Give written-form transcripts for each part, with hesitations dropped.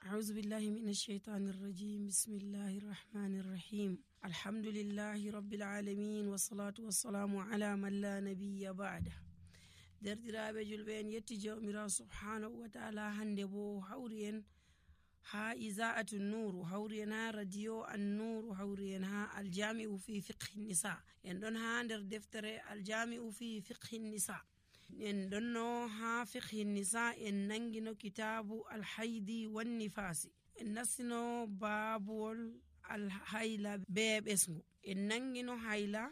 أعوذ بالله من الشيطان الرجيم بسم الله الرحمن الرحيم الحمد لله رب العالمين والصلاة والسلام على من لا نبي بعده. derdiraaɓe julɓe en yetti jawmirawo subhanahu wa ta'ala. hande bo hawri en ha iza'atu nuru, hawri en ha radio an nuru, hawri en ha aljami'u fi fiqhi nisa. en ɗon ha nder deftere aljami'u fi fiqhi nisa. en ɗonno ha fiqhi nisa en nangino kitabu alhaidi wan nifasi, en nassino babuwol alhayla be ɓesgu. en nangino hayla,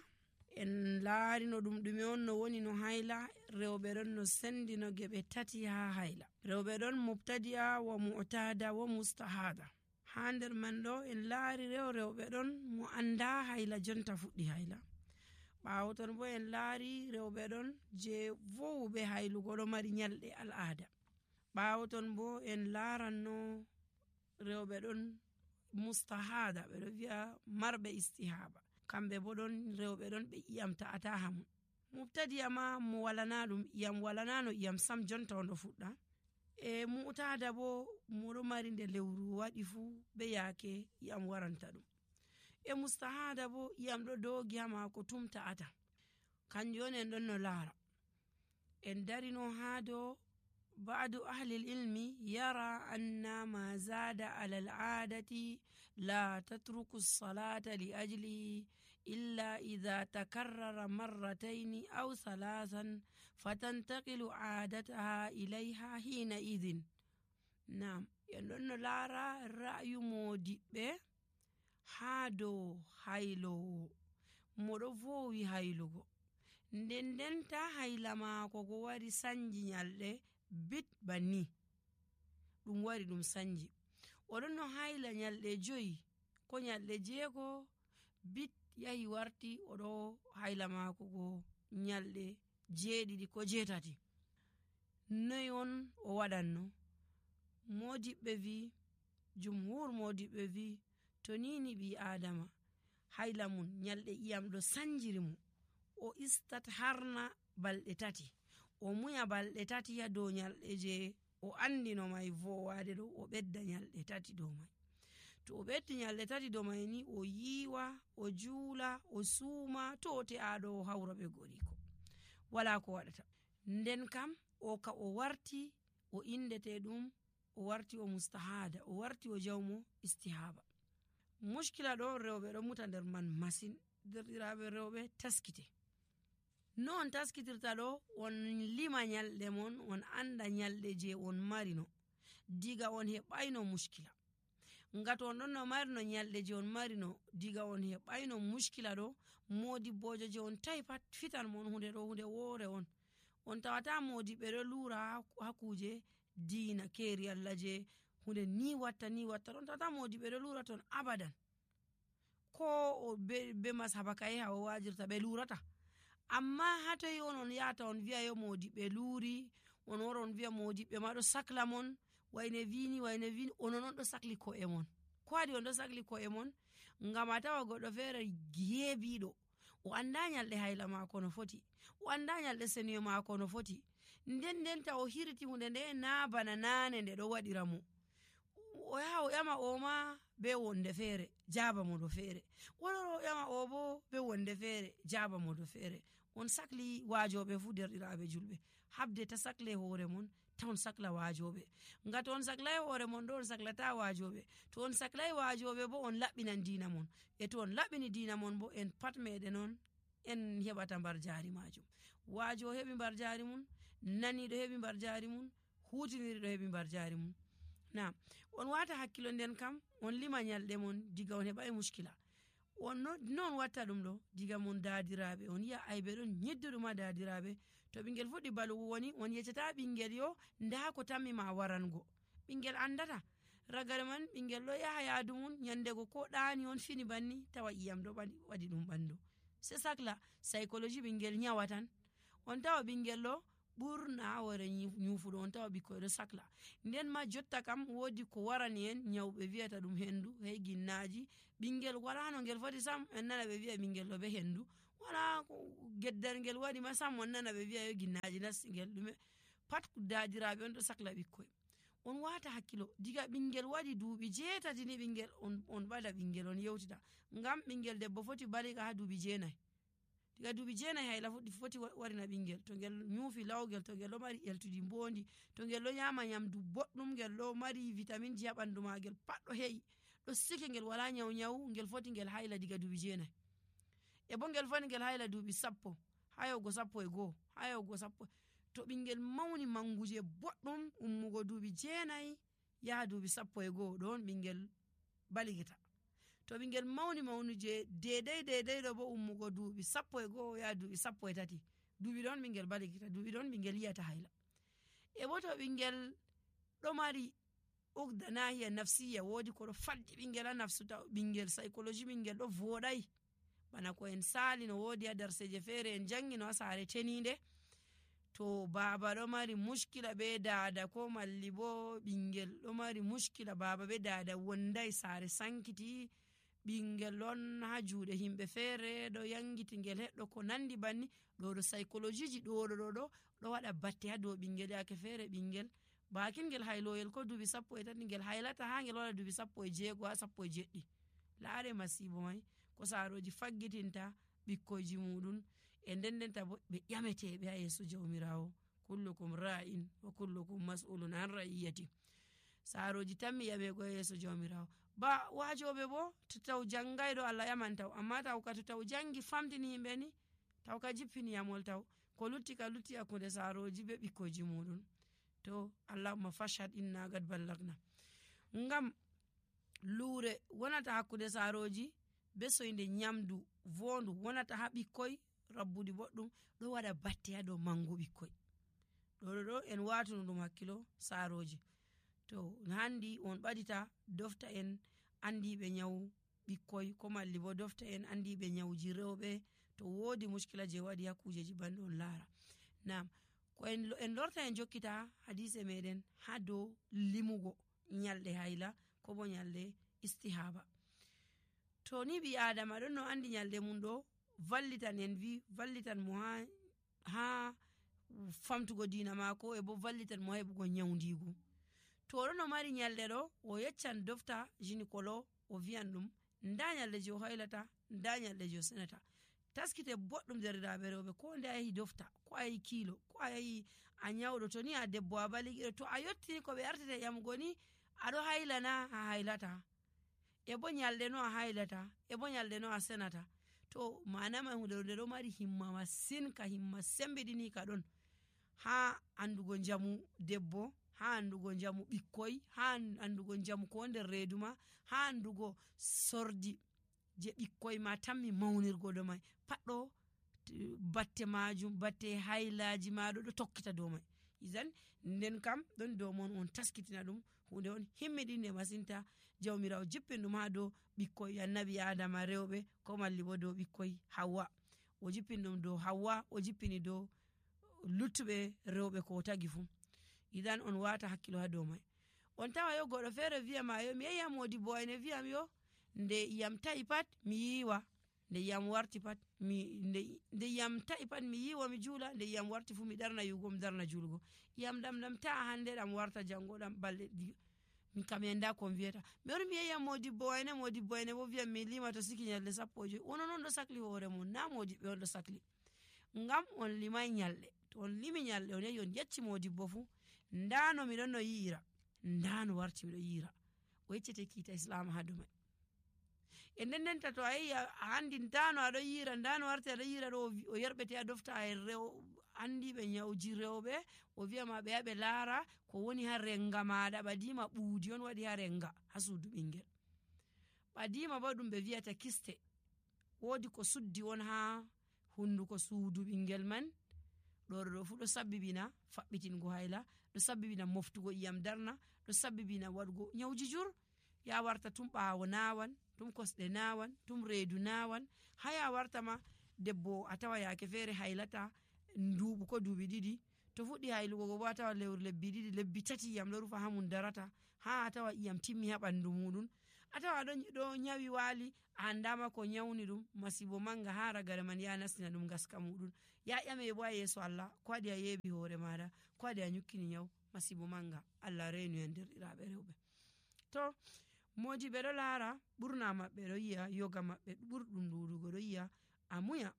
en laarino ɗum ɗume on no woni no hayla. rewɓe ɗon no sendino geɓe tati ha hayla. rewɓe ɗon mubtadi'a wa mu'tada wa mustahada. ha nder man ɗo en laari rewɓe ɗon mo anda hayla jonta fuɗɗi hayla. ɓaawo ton bo en laari rewɓe ɗon je vowuɓe haylugo ɗo mari nyalɗe al'ada. ɓaawo ton bo en laaranno rewɓe ɗon mustahada, ɓe ɗo wi'a marɓe istihaba. kamɓe bo ɗon rewɓe ɗon ɓe iyam ta'ata hamum. mubtadi'a ma mo walana ɗum iyam, walanano iyam sam jonta on ɗo fuɗɗa. e mu'tada bo moɗo mari nde lewru waɗi fu be yaake iyam waranta ɗum. e mustahada bo iyam ɗo dogi ha mako tum ta'ata. kanjum on en ɗon no laara. en darino ha do ba'du ahli ilmi yara anna ma zada ala al'adati la tatruku as-salata li ajlihi illa idha takarrara marratayn aw thalathan fatantaqilu 'adataha ilayha hina idhin. Naam, en ɗon no laara ra'yu modiɓɓe ha dow haylowo moɗo vowi haylugo, ndendenta hayla maako go wari sanji nyalɗe bit banni ɗum wari ɗum sanji. oɗon no hayla nyalɗe 5 ko nyalɗe 6 bit yahi warti oɗo hayla maako go nyalɗe 7 ko 8. noy on o waɗanno? modiɓɓe vi, jumhur modiɓɓe vi, to nini ɓi adama hayla mun nyalɗe iyam ɗo sanjiri mu, o istat harna balɗe 3, o muya balɗe 3 ya dow nyalɗe je o andino mai vowade ɗo, o ɓedda nyalɗe 3 dow mai. to o ɓeddi nyalɗe 3 dow mai ni, o yiwa, o juula, o suuma, to o te'aɗo o hawra ɓe goriko, wala ko waɗata. nden kam o ka o warti o indete ɗum, o warti o mustahada, o warti o jawmo istihaba. mushkila ɗo rewɓe ɗo muta nder man masin. derɗiraɓe rewɓe, taskite. no on taskitirta ɗo? on lima nyalɗe mon, on anda nyalɗe je on marino diga on heɓayno mushkila. ngam to on ɗon no marino nyalɗe je on marino diga on heɓayno mushkila ɗo, modibbojo je on tawi pat fitan mon hunde ɗo hunde woore on. on tawata modiɓɓe ɗo lura ha kuje diina keeri Allah je hunde ni watta ɗon tawata modiɓɓe ɗo lura ton abadan. ko be masaba kaye ha o wajirta ɓe lurata. amma hatoyi on yata on wi'a yo modiɓɓe luri, on wara on wi'a modiɓɓe ma ɗo sakla mon, wayne vini onon on ɗo sakli ko'e mon. ko waɗi on ɗo sakli ko'e mon? ngam a tawa goɗɗo feere geebiɗo, o anda nyalɗe hayla mako no foti, o anda nyalɗe seniyo mako no foti, ndendenta o hirti hunde nde na bana nane nde ɗo waɗira mo. o yaha o ƴama o ma be wonde feere jaba mo do feere, wonoro o ƴama o bo be wonde feere jaba mo do feere. on sakli wajoɓe fu derɗiraɓe julɓe, habde ta sakle hoore mon, ta on sakla wajoɓe. ngam to on saklai hoore mon ɗo, on saklata wajoɓe. to on saklai wajoɓe bo, on laɓɓinan dina mon. e to on laɓɓini dina mon bo, en pat meɗen on en heɓata mbar jari majum. wajo heɓi mbar jari mun, naniɗo heɓi mbar jari mun, hutiniriɗo heɓi mbar jari mun. na on wata hakkilo nden kam, on lima nyalɗe mon diga on heɓai mushkila. on non watta ɗum ɗo diga mon dadiraɓe, on yi'a aybe ɗon nyedduɗum ha dadiraɓe. to ɓingel fuɗɗi balugo woni, on yeccata ɓingel yo nda ko tammi ma warango. ɓingel andata. ragare man ɓingel ɗo yaha yaadu mun, nyandego ko ɗani on fini banni, tawa iyam ɗo waɗi ɗum ɓandu. se sakla psychologie ɓingel nyawatan. on tawa ɓingel ɗo ɓurna wore nyufuɗo, on tawa ɓikkoy ɗo sakla. nden ma jotta kam wodi ko warani en nyawɓe wiyata ɗum hendu, hey ginnaji. ɓingel wala no ngel foti sam, en nana ɓe wi'a ɓingel ɗo be hendu. wala geddal ngel waɗi ma sam, on nana ɓe wi'a yo ginnaji nasti ngel ɗume. pat dadiraɓe on ɗo sakla ɓikkoy. on wata hakkilo diga ɓingel waɗi duuɓi 7 ni ɓingel on ɓada ɓingel on yewtita, ngam ɓingel debbo foti baliga ha duuɓi 9. diga duuɓi 9 hayla foti warina ɓingel, to ngel nyufi lawgel, to ngel ɗo mari eltudi mbondi, to ngel ɗo nyama nyamdu boɗɗum, ngel ɗo mari vitaminji ha ɓandu magel pat ɗo he'i ɗo sike, ngel wala nyawu ngel foti ngel hayla diga duuɓi 9. e bo ngel foti ngel hayla duuɓi 10 ha yahugo 11 ha yahugo 10. to ɓingel mauni manguje boɗɗum ummugo duuɓi 9 yaha duuɓi 11 ɗon ɓingel baligita. to ɓingel mauni maunuje dedai ɗo bo ummugo duuɓi 11 yaha duuɓi 13, duuɓi ɗon ɓingel baligita, duuɓi ɗon ɓingel yiyata hayla. e bo to ɓingel ɗo mari ugda nahiya nafsiya, wodi ko ɗo faddi ɓingel ha nafsu, ɓingel psychology ɓingel ɗo voɗai, bana ko en sali no wodi ha darseje fere en jangi no ha sare teninde, to baba ɗo mari mushkila be dada, ko malli bo ɓingel ɗo mari mushkila baba be dada wondai, sare sankiti, ɓingel ɗon ha juuɗe himɓe fere ɗo yangiti ngel heɗɗo ko nandi banni, ɗo psychology ji ɗo waɗa batte ha dow ɓingel. yake fere ɓingel bakin ngel hayloyel ko duuɓi 13 ngel haylata ha ngel waɗa duuɓi 16 ha 17. laare masibo mai ko saroji faggitinta ɓikkoyji muɗum, e ndendenta bo ɓe ƴameteɓe ha yeeso jawmirawo. kullukum ra'in wa kullukum mas'ulun an ra'iyati. saroji tammi ƴamego ha yeeso jawmirawo. ba wajoɓe bo to taw jangai ɗo Allah ƴaman taw, amma taw ka to taw jangi famtini yimɓe ni taw ka jippini yamol, taw ko lutti hakkunde saroji be ɓikkoyji muɗum. to allahumma fashhad inna gad ballagna. ngam luure wonata hakkunde saroji be soyde nyamdu vondu wonata ha ɓikkoy rabbuɗi boɗɗum ɗo waɗa batte ha dow mangu ɓikkoy. ɗo en watuno ɗum hakkilo saroji. to handi on ɓadita dofta en andiɓe nyawu ɓikkoy, ko malli bo dofta en andiɓe nyawuji rewɓe to wodi mushkila je waɗi ha kujeji banɗe on laara. nam ko en lorta en jokkita hadise meɗen ha dow limugo nyalɗe hayla ko bo nyalɗe istihaba. to ni ɓi adama ɗon no andi nyalɗe mum ɗo vallitan en vallitan mo ha famtugo dina mako, e bo vallitan mo ha heɓugo nyawndigu. to ɗon no mari nyalɗe ɗo o yeccan dofta gynécolo o viyan ɗum nda nyalɗe je o haylata, nda nyalɗe je o senata. taskite boɗɗum derɗiraɓe rewɓe, ko nde a yahi dofta, ko a yahi kilo, ko a yahi a nyawɗo, to ni a debbo a baligiɗo, to a yottini ko ɓe artete ƴamugo ni aɗo haylana a haylata, e bo nyalɗe no a haylata, e bo nyalɗe no a senata. to manama hunde ɗo mari himma masin, ka himma sembiɗini ka ɗon ha andugo njamu debbo, ha andugo njamu ɓikkoy, ha andugo njamu ko nder reedu ma, ha andugo sordi je ɓikkoy ma tammi maunirgo do mai pat ɗo batte majum, batte haylaji maɗo ɗo tokkita dow mai. izan nden kam ɗon dow mon on taskitina ɗum, hunde on himmiɗinde masinta. jawmirawo jippin ɗum ha dow ɓikkoy annabi adama rewɓe, ko malli bo dow ɓikkoy Hawwa. o jippin ɗum dow Hawwa, o jippini dow luttuɓe rewɓe ko tagi fu. idan on wata hakkilo ha dow mai. on tawa yo goɗɗo fere wiyama yo mi yehi modibbo ene wiyam yo nde yam ta'i pat mi yiwa, nde yam warti pat nde yam ta'i pat mi yiwa mi juula, nde yam warti fu mi darna yugo mi darna julgo. yam ɗam ta'a hande ɗam warta jango ɗam balɗe min kam yanda ko mi wiyata. mi wari mi yehi modibbo ene bo wiyam mi lima to siki nyalɗe 15. onon on ɗo sakli hoore mon, na modibbe on ɗo sakli. ngam on limai nyalɗe. to on limi nyalɗe on yahi on yecci modibbo fu ndano miɗon no yi'ira, ndano warti miɗo yi'ira, o yeccete kiita islam ha dow mai. e ndendenta to a yehi a andi ndano aɗo yi'ira, ndano warti aɗo yi'ira ɗo, o yerɓete a dofta andiɓe nyawji rewɓe, o wiyama ɓe yaɓe laara ko woni ha renga maɗa. ɓadima ɓuudi on waɗi ha renga ha suudu ɓingel. ɓadima bo ɗum ɓe wiyata kiste, wodi ko suddi on ha hunduko suudu ɓingel man. ɗo fu ɗo sabbibina faɓɓitingo hayla, ɗo sabbibina moftugo iyam darna, ɗo sabbibina waɗugo nyawji jur. ya warta tum ɓawo nawan, tum kosɗe nawan, tum reedu nawan, haya warta ma debbo a tawa yake fere haylata nduɓu ko duuɓi 2, to fuɗɗi haylugo bo a tawa lewru lebbi 2 lebbi 3 iyam ɗo rufa ha mum darata, ha a tawa iyam timmi ha ɓandu muɗum, a tawa ɗo nyawi waali a andama ko nyawni ɗum. masibo manga ha ragare man ya nastina ɗum gaska muɗum, ya ƴame bo a yeeso Allah ko waɗi a yeeɓi hoore maɗa, ko waɗi a nyukkini nyawu. masibo manga. Allah reenu en derɗiraɓe rewɓe. To modiɓe ɗo laara ɓurna maɓɓe ɗo yi'a yoga maɓɓe ɓurɗum ɗuɗugo ɗo yi'a a muya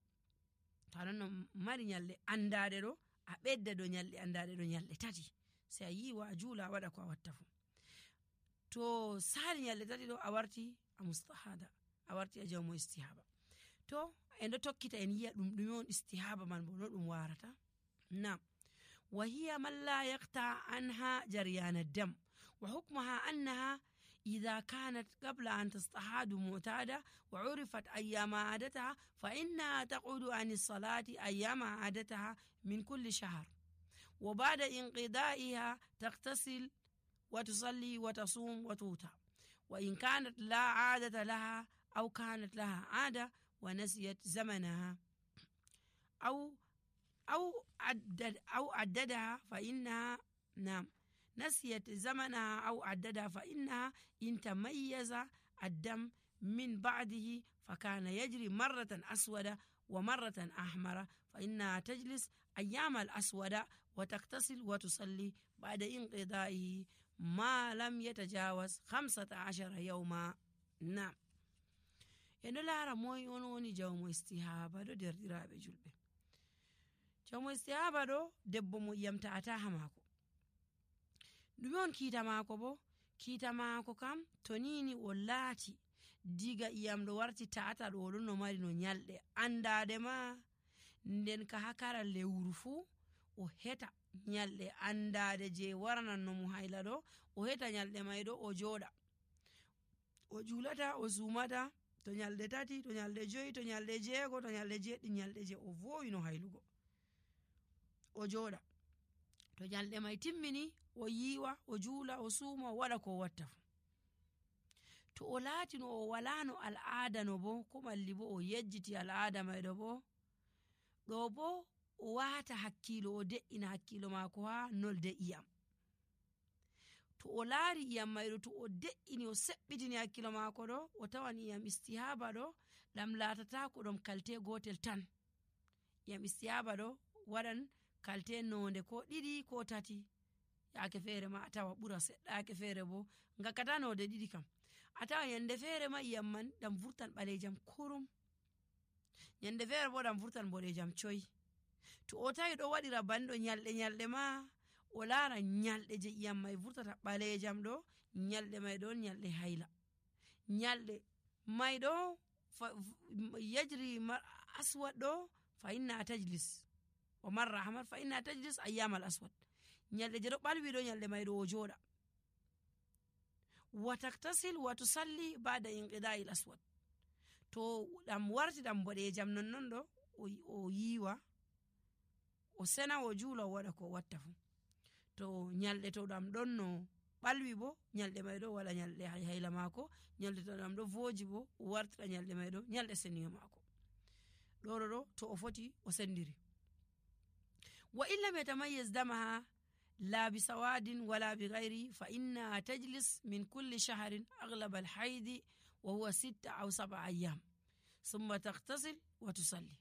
to aɗon no mari nyalɗe andaɗe ɗo a ɓedda dow nyalɗe andaɗe ɗo nyalɗe 3 sai a yiwa a juula a waɗa ko a watta fu. To sali nyalɗe 3 ɗo a warti a mustahada, a warti a jawmo istihaba. To en ɗo tokkita en yi'a ɗum ɗume on istihaba man bo no ɗum warata. Nam wa hiya man la yaqta anha jaryan ad-dam wa hukmuha annaha إذا كانت قبل أن تستحاض معتادة وعرفت أيام عادتها فإنها تقعد عن الصلاة أيام عادتها من كل شهر، وبعد انقضائها تغتسل وتصلي وتصوم وتوتر. وإن كانت لا عادة لها أو كانت لها عادة ونسيت زمنها أو عددها فإنها نسيت زمنها أو عددها فإنها إن تميز الدم من بعده فكان يجري مرة أسودة ومرة أحمر فإنها تجلس أيام الأسودة وتغتسل وتصلي بعد انقضائه ما لم يتجاوز 15 يوما. نعم eno laara moy on woni jawmo istihaba ɗo derɗiraɓe julɓe. Jawmo istihaba ɗo debbo mo iyam ta'ataha maako. ɗume on kiita maako bo? Kiita maako kam to nini o laati diga iyam ɗo warti ta'ata ɗo oɗon no mari no nyalɗe andade ma, nden ka hakara lewru fu o heta nyalɗe andade je waranan no mo hayla ɗo, o heta nyalɗe may ɗo o joɗa o julata o sumata to nyalɗe 3 to nyalɗe 5 to nyalɗe 6 to nyalɗe 7 nyalɗe je o vowi no haylugo o joɗa. To nyalɗe may timmini o yiwa o juula o suuma o waɗa ko watta fu. To o laati no o wala no al'ada no bo ko malli bo o yejjiti al'ada may ɗo bo o wata hakkilo o de'ina hakkilo maako ha nolde iyam. To o laari iyam may ɗo to o de'ini o seɓɓitini hakkilo maako ɗo o tawan iyam istihaba ɗo ɗam laatata ko ɗum kalte gotel tan. Iyam istihaba ɗo waɗan kalte nonde ko 2 ko 3 yaake feere ma a tawa ɓura seɗɗa yaake feere bo ngakkata nonde 2 kam. A tawa yande feere ma iyam man ɗam vurtan ɓalejam kurum, yande feere bo ɗam vurtan boɗejam coy. To o tawi ɗo waɗira banɗo nyalɗe ma o laara nyalɗe je iyam may vurtata ɓalejam ɗo nyalɗe may ɗon nyalɗe hayla. Nyalɗe may ɗo yajri aswad ɗo fa inna tajlis o marra hamar fa inna tajlis ayyamal aswad. Nyalɗe je ɗo ɓalwi ɗo nyalɗe may ɗo o joɗa. Wa taktasil wa tusalli ba'da inqida'il aswad. To ɗam warti ɗam boɗejam nonnon ɗo o yiwa o sena o juula o waɗa ko watta fu. To nyalɗe to ɗam ɗon no ɓalwi bo nyalɗe may ɗo waɗa nyalɗe hayla maako, nyalɗe to ɗam ɗo voji bo o wartira nyalɗe may ɗo nyalɗe seniyo maako. ɗo to o foti o sendiri. Wa illa yatamayyiz damaha la bi sawadin wala bi ghairi fa inna tajlis min kulli shahrin aghlab al haidi wa huwa 6 aw 7 ayyam thumma taghtasil wa tusalli.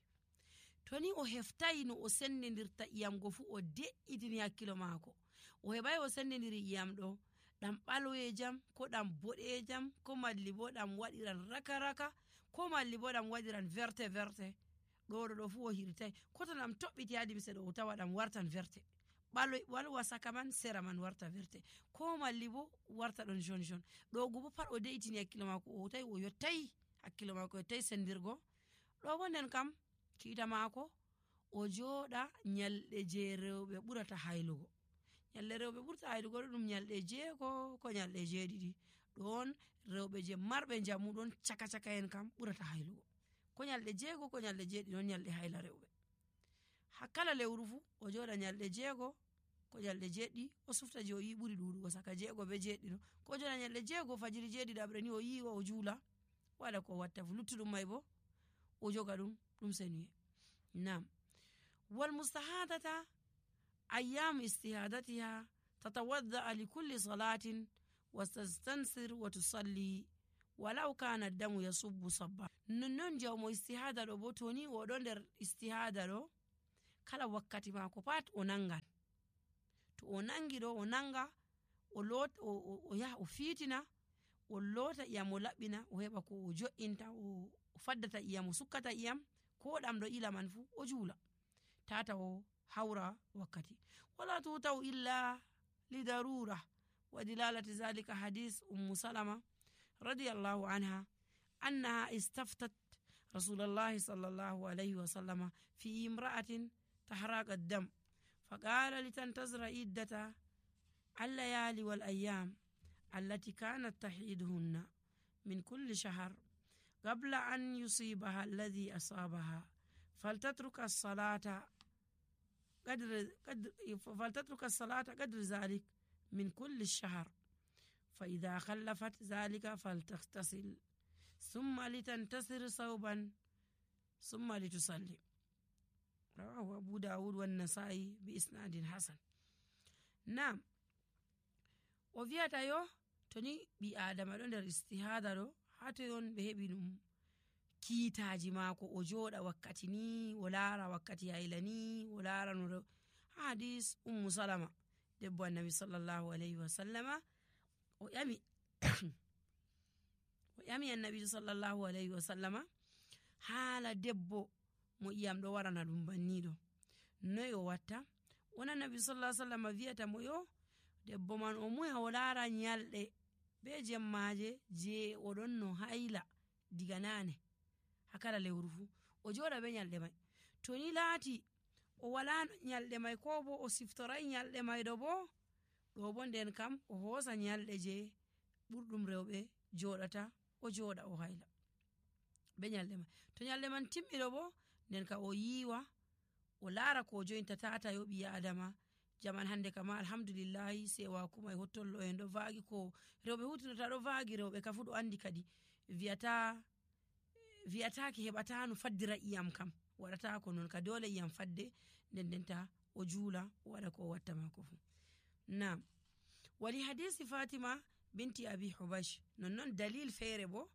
To ni o heftai no o sendidirta iyam go fu o de'itini hakkilo maako o heɓai o sendidiri iyam ɗo ɗam ɓalwejam ko ɗam boɗejam ko malli bo ɗam waɗiran raka ko malli bo ɗam waɗiran verte ɗo fu o hirtai ko to ɗam toɓɓiti ha limse ɗo o tawa ɗam wartan verte ɓalwa saka man sera man warta verte ko malli bo warta ɗon jaune ɗo go bo pat o de'itini hakkilo maako o tawi o yottai hakkilo maako yottai sendirgo ɗo bo nden kam kiita maako o joɗa nyalɗe je rewɓe ɓurata haylugo. Nyalɗe rewɓe ɓurata haylugo ɗum nyalɗe 6 ko nyalɗe 7 ɗon rewɓe je marɓe jamu ɗon caka en kam ɓurata haylugo. Ko nyalɗe 6 ko nyalɗe 7 ɗon nyalɗe hayla rewɓe. Hakkala lewru fu o joɗa nyalɗe 6 ko nyalɗe 7 o sufta je o yi ɓuri ɗuɗugo saka 6 be 7 ɗo ko joɗa nyalɗe 6 fajiri 7 ɗaɓre ni o yiwa o juula waɗa ko watta fu luttuɗum may bo o joga ɗum seniye. Nam wal mustahadata ayyam istihadatiha tatawadda li kulli salatin wa tastansir wa tusalli walau kana damu yasubbu sabba. Non jawmo istihada ɗo bo to ni o ɗo nder istihada ɗo kala wakkati maako pat o nangan. To o nangi ɗo o nanga o yaha o fiitina o loota iyam o laɓɓina o heɓa ko o jo'inta o faddata iyam o sukkata iyam ko ɗam ɗo ila man fuu o juula tata o hawra wakkati wala tutau illa lidarura wa dilalati zalika hadis salama radiyallahu anha annaha istaftat rasulallahi sallallahu alayhi wa sallama fi imra'atin tahraq ad-dam faqala litantazira iddata الليالي والأيام التي كانت تحيدهن من كل شهر قبل أن يصيبها الذي أصابها فلتترك الصلاة قدر ذلك من كل الشهر فإذا خلفت ذلك فلتغتسل ثم لتنتصر صوبا ثم لتصلي رواه أبو داود والنسائي بإسناد حسن. نعم o wiyata yo to ni ɓi adama ɗo nder istihada ɗo hato yon ɓe heɓi ɗum kiitaji maako o jooɗa wakkati ni o laara wakkati hayla ni o laara no hadis salama debbo annabi sallallahu alayhi wa sallama o ƴami annabi sallallahu alayhi wa sallama haala debbo mo iyam ɗo warana ɗum banniɗo noy o watta wona annabi sallallahu alayhi wa sallama wiyata mo yo debbo man o muya o laara nyalɗe be jemmaje je oɗon no hayla diga nane hakala lewru fu o joɗa be nyalɗe mai to ni laati o wala nyalɗe mai ko bo o siftorai nyalɗe mai ɗo bo nden kam o hoosa nyalɗe je ɓurɗum rewɓe joɗata o joɗa o hayla be nyalɗe mai to nyalɗe man timmiɗo bo nden ka o yiwa o laara ko joyinta tata yo ɓi adama jaman hande kama alhamdulillahi sewaku mai hottollo en ɗo vaagi ko rewɓe hutinata ɗo vaagi rewɓe ka fu ɗo andi kadi wiyataki heɓata no faddira iyam kam waɗata ko non ka dole iyam fadde ndendenta o juula o waɗa ko o watta mako fu. Nam wali hadisi Fatima binti Abi Hubash nonnon dalil feere bo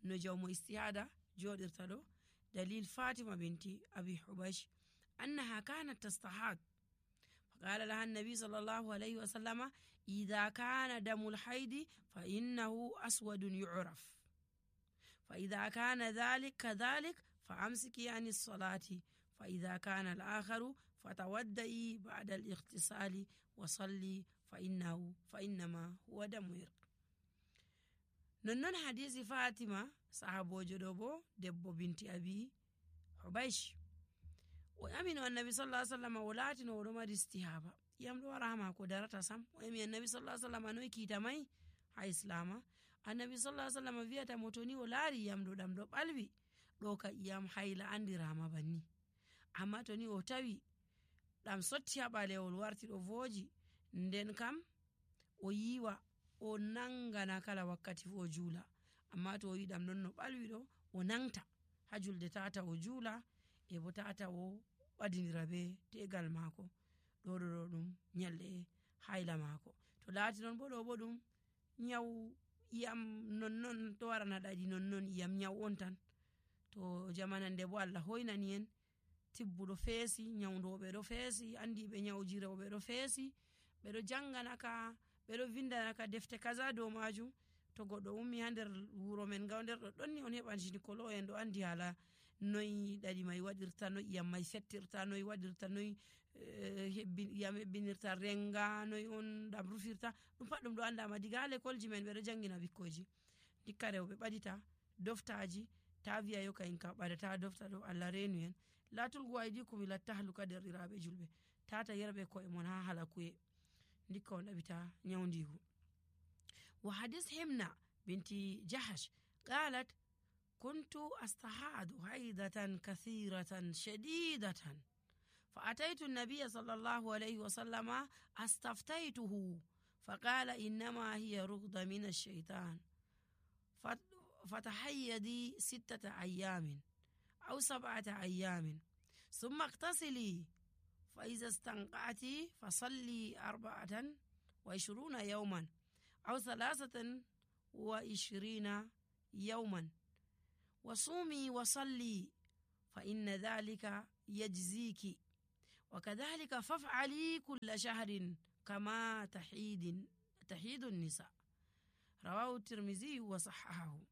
no jawmo istihada joɗirta ɗo dalil Fatima binti Abi Hubash annaha kanat tastahad فقال لها النبي صلى الله عليه وسلم إذا كان دم الحيض فإنه أسود يعرف فإذا كان ذلك كذلك فأمسكي عن الصلاة فإذا كان الآخر فتودئي بعد الاغتسال وصلي فإنما هو دم يرق. ننن حديث فاطمة صحابو جدوبو دبو بنت أبي حبيش o yamino annabi sallallahu alaihi wasallam o laatino oɗo mari istihaba iyam ɗo wara ha mako darata sam o yami annabi sallallahu alaihi wasallam noy kiita mai ha islama annabi sallallahu alaihi wasallam wiyata mo to ni o laari iyam ɗo ɗam ɗo ɓalwi ɗo ka iyam hayla andirama banni amma to ni o tawi ɗam sotti ha ɓalewol warti ɗo voji nden kam o yiwa o nangana kala wakkati fu o juula amma to o yi ɗam ɗon no ɓalwi ɗo o nangta ha julde tata o juula e bo tata o wadinira be tegal mako ɗo ɗum nyalɗe hayla mako to laati non bo ɗo bo ɗum nyawu iyam nonnon to warana ɗaɗi nonnon iyam nyawu on tan to jamanande bo Allah hoynani en tibbuɗo feesi nyawdoɓe ɗo feesi andiɓe nyawji rewɓe ɗo feesi ɓeɗo janganaka ɓeɗo vindanaka defte kaza dow majum to goɗɗo ummi ha nder wuro men gawnder ɗo ɗonni on heɓan gynécologue en ɗo andi hala noy ɗaɗi mai waɗirta noy iyam mai fettirta noy waɗirta noy iyam hebbinirta renga noy on ɗam rufirta ɗum pat ɗum ɗo andama diga ha l'école men ɓeɗo jangina bikkoji dikka rewɓe ɓaɗita doftaji ta wiya yo kayin ka ɓaɗata dofta ɗo Allah renu en latulgu aydikum ila tahluka derɗiraɓe julɓe tata yerɓe koye mon ha halakuye dikka on ɗaɓita nyawdigu. Wa hadis Himna binti Jahash qalat كنت أستحاض حيضة كثيرة شديدة فأتيت النبي صلى الله عليه وسلم استفتيته فقال إنما هي رغدة من الشيطان فتحيدي 6 أيام أو 7 أيام ثم اغتسلي فإذا استنقعت فصلي 24 يوما أو 23 يوما وصومي وصلي فإن ذلك يجزيك وكذلك فافعلي كل شهر kama tahidun nisa. Rawahu Tirmizi wa sahahahu.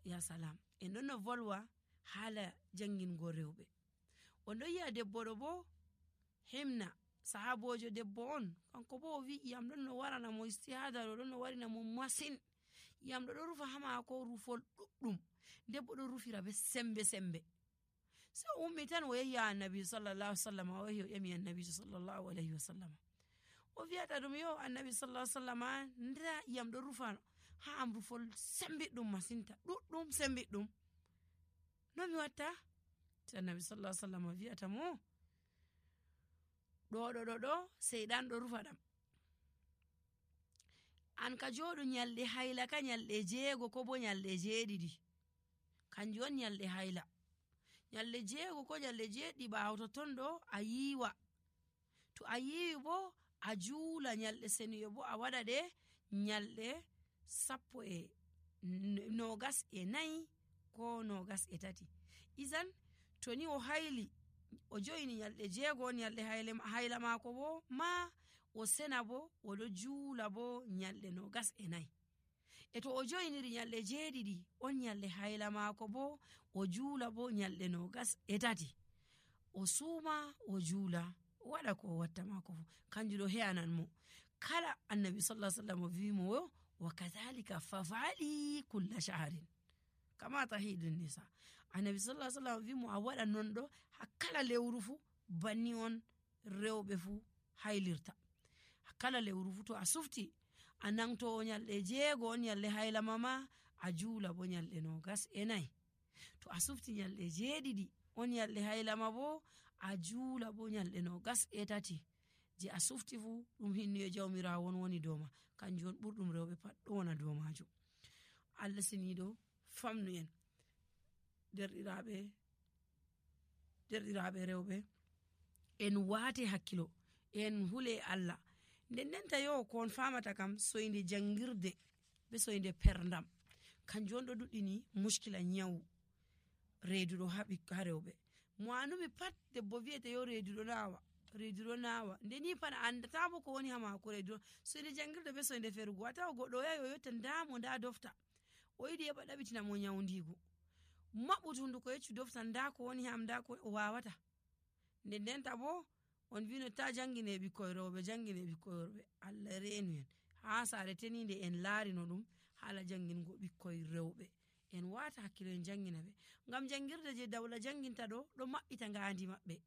Ya salam, en ɗon no volwa haala jangingo rewɓe. On ɗon yi'a debbo ɗo bo Himna, sahabojo debbo on, kanko bo o wi iyam ɗon no warana mo istihada ɗo ɗon no warina mo masin. Iyam ɗo rufa ha maako rufol ɗuɗɗum, debbo ɗon rufira be sembe. Sai o ummi tan o yehi annabi sallallahu alaihi wasallam, o yehi o ƴami annabi sallallahu alaihi wasallam. O wi'ata ɗum yo annabi sallallahu alaihi wasallam, nda iyam ɗo rufa ha am rufol sembiɗɗum masinta, ɗuɗɗum sembiɗɗum. No mi watta? Sai annabi sallallahu alaihi wasallam wi'ata mo, ɗo seyɗan ɗo rufa ɗam. An ka joɗu nyalɗe hayla ka nyalɗe 6 ko bo nyalɗe 7, kanjum on nyalɗe hayla. Nyalɗe 6 ko nyalɗe 7 ɓaawo to ton ɗo a yiiwa. To a yiiwi bo a juula nyalɗe seniyo bo a waɗa ɗe nyalɗe 24 ko 23. Izan to ni o hayli o joyini nyalɗe 6 nyalɗe hayla maako bo ma o sena bo o ɗo juula bo nyalɗe 24. E to o joyiniri nyalɗe 7 on nyalɗe hayla maako bo o juula bo nyalɗe 23. O suuma o juula o waɗa ko o watta maako fu, kanjum ɗo he'anan mo. Kala annabi sallallahu alaihi wasallam wi mo wa kadhalika fafali kulla shahrin kama tahidun nisa. Annabi sallallahu alaihi wasallam wi mo a waɗa non ɗo ha kala lewru fu, banni on rewɓe fu haylirta. Ha kala lewru fu to a sufti a nangto nyalɗe 6 on nyalɗe hayla mama, a juula bo nyalɗe 24. To a sufti nyalɗe 7 on nyalɗe hayla ma bo a juula bo nyalɗe 23. Je a sufti fu ɗum hinnuye jawmirawo woni dow ma, kanjum on ɓurɗum rewɓe pat ɗo wona dow majum. Allah siniɗo famnu en derɗiraɓe rewɓe, en waate hakkilo, en hule Allah. Ndendenta yo ko on famata kam soyde jangirde be soyde perdam, kanjum on ɗo duɗɗini muskila nyawu reeduɗo ha rewɓe. Mo anumi pat debbo wiyete yo reeduɗo nawa, ndeni pat andata bo ko woni ha mako reeduɗo. Soyde jangirde be soyde ferugo, a tawa goɗɗo o yahi o yotta ndamo nda dofta, o yiɗi heɓa ɗaɓitina mo nyawndigo, maɓɓutu hunduko yeccu dofta nda ko woni ham, nda ko o wawata. Ndendenta bo on wino ta jangine ɓikkoy rewɓe. Allah reenu en ha sare tenide en laarino ɗum haala jangingo ɓikkoy rewɓe. En wata hakkilo en jangina ɓe, ngam jangirde je dawla janginta ɗo maɓɓita ngandi maɓɓe.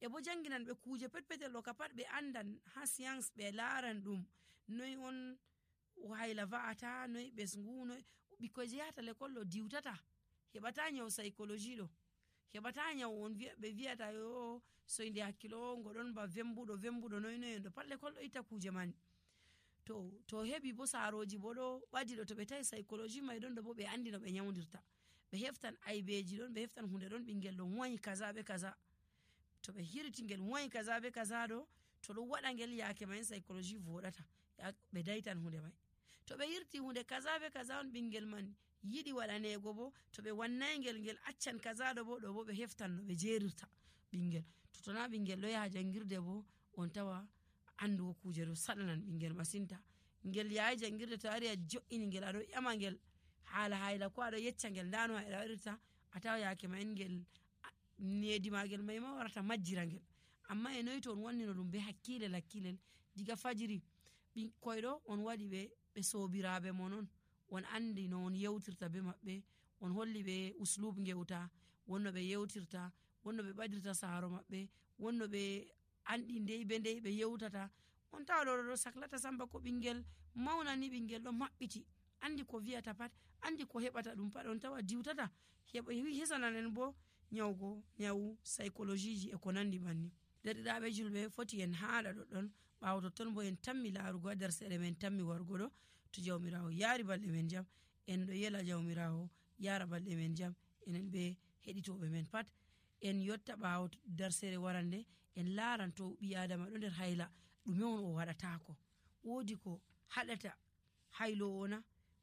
E bo janginan ɓe kuje petpetel ɗo ka pat ɓe andan ha science, ɓe laaran ɗum noy on hayla va'ata, noy ɓesngu, noy ɓikkoy je yahata l'école ɗo diwtata, heɓata nyaw psychologie ɗo, heɓata nyaw on ɓe wiyata yo soyde hakkilo ngo ɗon ba vembuɗo noy ɗo pat l'école ɗo itta kuje man. To heɓi bo saroji bo ɗo ɓadi ɗo, to ɓe tawi psychologie mai ɗon ɗo bo ɓe andi no ɓe nyawdirta, ɓe heftan aybeji ɗon, ɓe heftan hunde ɗon, ɓingel ɗo wayi kaza be kaza, to ɓe hirti ngel wayi kaza be kaza ɗo, to ɗo waɗa ngel yake mai psychologie voɗata, ɓe daitan hunde mai. To ɓe hirti hunde kaza be kaza on ɓingel man yiɗi waɗanego bo, to ɓe wannai ngel accan kaza ɗo bo ɓe heftan no ɓe jerirta ɓingel. To tona ɓingel ɗo yaha jangirde bo on tawa andugo kuje ɗo saɗanan ɓingel masinta. Ngel yayi jangirde to ari a jo'ini ngel aɗo ƴama ngel haala hayla ko aɗo yecca ngel nda no hayla waɗirta, a tawa yake mai ngel nedi magel mai ma warata majjira ngel. Amma e noy to on wannino ɗum be hakkilel diga fajiri, ɓikkoy ɗo on waɗi ɓe sobiraɓe mon on andi no on yewtirta be maɓɓe, on holli ɓe uslub ngewta, wonno ɓe yewtirta, wonno ɓe ɓadirta saro maɓɓe, wonno ɓe andi ndey ɓe yewtata. On tawa ɗo saklata samba ko ɓingel maunani, ɓingel ɗo maɓɓiti, andi ko wiyata pat, andi ko heɓata ɗum pat, on tawa diwtata, hisanan bo nyawu psychologie ji e ko nandi banni. Derɗiraɓe julɓe, foti en haala ɗoɗɗon, ɓawo totton bo en tammi laarugo ha nder seeɗa men tammi wargo ɗo, to jawmirawo yaari balɗe men jam, en ɗo yela jawmirawo yara balɗe men jam, enen ɓe heɗitoɓe men pat en yotta ɓawo nder seeɗa warande, en laaran to ɓi adama ɗo nder hayla ɗume on o waɗatako, woodi ko haɗata haylowo na,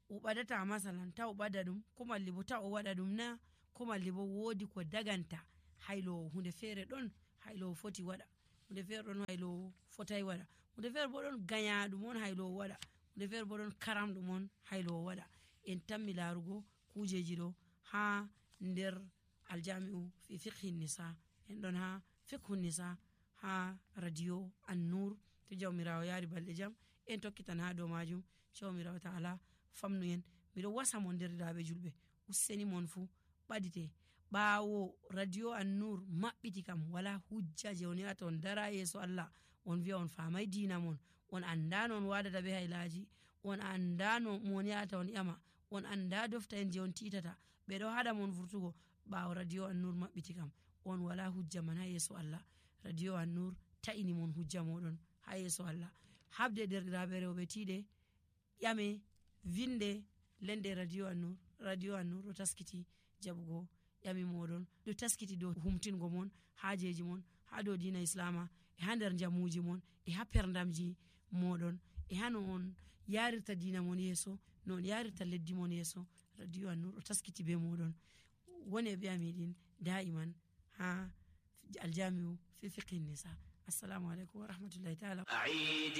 o ɓadata masalan ta o ɓada ɗum, ko malli bo ta o waɗa ɗum na, ko malli bo woodi ko daganta haylowo, hunde feere ɗon haylowo foti waɗa. hunde feere ɗon haylowo fotai waɗa, hunde feere bo ɗon ganyaɗum on haylowo waɗa, hunde feere bo ɗon karamɗum on haylowo waɗa. En tammi larugo kujeji ɗo ha nder aljami'u fi fiqhi nisa, en ɗon ha fiqhu nisa ha radio An-Nur. to jawmirawo yari balɗe jam en tokkitan ha dow majum. jawmirawo ta'ala famnu en. miɗo wasa mon derɗiraɓe julɓe, useni mon fu ɓadite ɓawo radio An-Nur maɓɓiti kam wala hujja je on yata on dara yeso Allah on wi'a on famai dina mon, on anda no on wadata be hailaji, on anda no mon yata on ƴama, on anda dofta en je on titata, ɓeɗo haɗa mon vurtugo. ɓawo radio An-Nur maɓɓiti kam on wala hujja man ha yeso Allah. radio An-Nur ta'ini mon hujja moɗon ha yeso Allah. habde derɗiraɓe rewɓe tiɗe ƴame vinde lende radio An-Nur. radio An-Nur ɗo taskiti jaɓugo ƴami moɗon, ɗo taskiti dow humtingo mon hajeji mon ha dow dina islama, e ha nder jamuji mon, e ha perdamji moɗon, e ha no on yarirta dina mon yeso, no on yarirta leddi mon yeso. radio An-Nur ɗo taskiti be moɗon. woni be amiɗin da'iman ha aljami'u fi fiqhi nisa. assalamu alaikum wa rahmatullahi ta'ala.